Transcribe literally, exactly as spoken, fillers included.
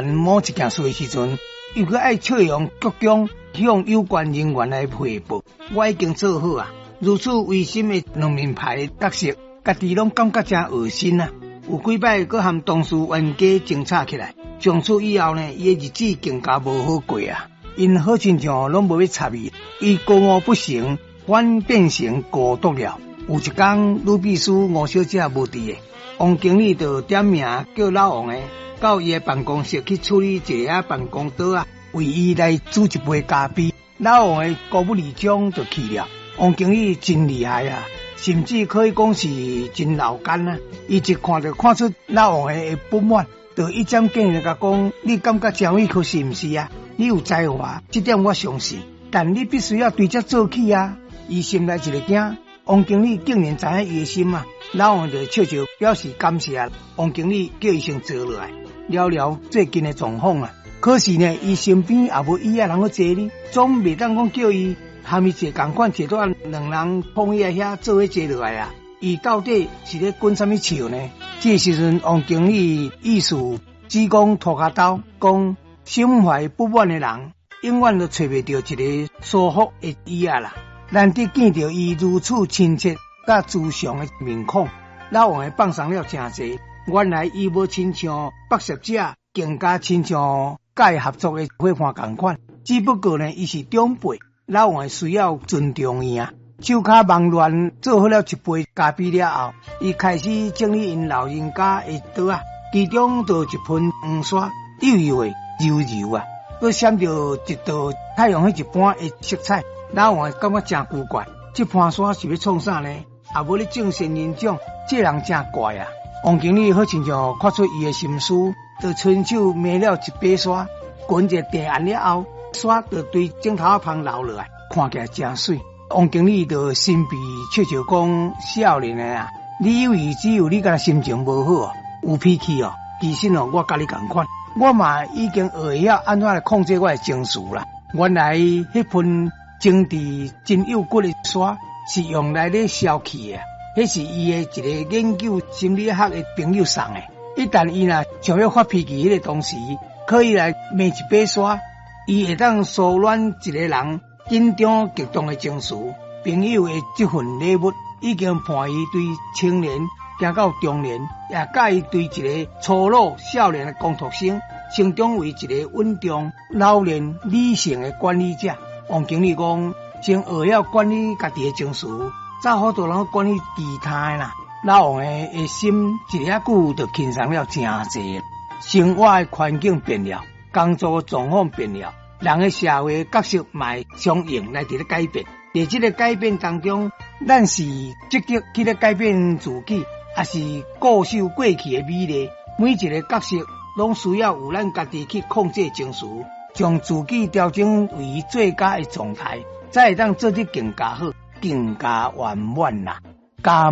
某一件事的時陣，又閣愛笑容鞠躬向有關人員來匯報。我已經做好啊，如此違心的兩面派的角色，家己攏感覺誠噁心啊！有幾擺閣和同事冤家爭吵起來，從此以後呢，伊的日子更加無好過啊！𪜶好親像攏無欲插伊，伊高傲不成，反變成孤獨了。有一工，女秘書吳小姐無佇的，王經理就點名叫老王的到伊的辦公室去處理一下辦公桌仔，為伊來煮一杯咖啡。老王的姑母二張就去了。王經理真厲害啊，甚至可以講是真老奸啊！伊一看就看出老王的不滿，就一針見血共講：你感覺真委屈是毋是啊？你有才華，這點我相信，但你必須要對這做起啊！伊心內一个驚，王經理竟然知影伊的心啊！老王就笑笑表示感謝。王經理叫伊先坐落來，聊聊最近的狀況啊。可是呢，伊身邊也無椅仔通好坐呢，總袂當講叫伊和伊坐仝款，坐到兩人碰椅仔遐做伙坐落來啊。伊到底是咧滾啥物笑呢？這時陣，王經理意思只講塗跤兜，講心懷不滿的人，永遠都揣袂著一个舒服的椅仔啦。難得見著伊如此親切佮慈祥的面孔，老王的放鬆了誠濟。原來伊無親像北攝者，更加親像佮伊合作的伙伴仝款。只不過呢，伊是長輩，老王需要尊重伊啊。手跤忙亂做好了一杯咖啡了後，伊開始整理𪜶老人家的桌仔，其中就一盆黃沙，幼幼的、柔柔啊，閣閃著一道太陽彼一般的色彩。老王感覺誠古怪，這盤沙是欲創啥呢？也無咧種仙人掌，這人誠怪啊！王經理好親像看出伊的心思，就伸手捏了一把沙，滾一個地按了後，沙就對枕頭仔芳流落來，看起來誠媠。王經理就神秘笑笑講：少年的啊，你以為只有你敢若心情無好，有脾氣哦？其實哦，我佮你仝款，我嘛已經學會曉按怎來控制我的情緒啦。原來彼盆精緻真幼骨的沙是用來咧消氣的，彼是伊的一个研究心理學的朋友送的。一旦伊若想欲發脾氣，彼個當時可以來捏一把沙，伊會當舒緩一个人緊張激動的情緒。朋友的這份禮物已經伴伊對青年行到中年，也佮伊對一个粗魯少年的工讀生，成長為一个穩重、老練、理性的管理者。王經理講，先學曉管理家己的情緒，才好多人管理其他的啦。老王的的心一下久就輕鬆了誠濟。生活的環境變了，工作狀況變了，人的社會角色嘛會相應來佇咧改變。佇這个改變當中，咱是積極去咧改變自己，抑是固守過去的美麗？每一个角色攏需要有咱家己去控制情緒，將自己調整為最佳的狀態，才會當做得更加好、更加圓滿啦。感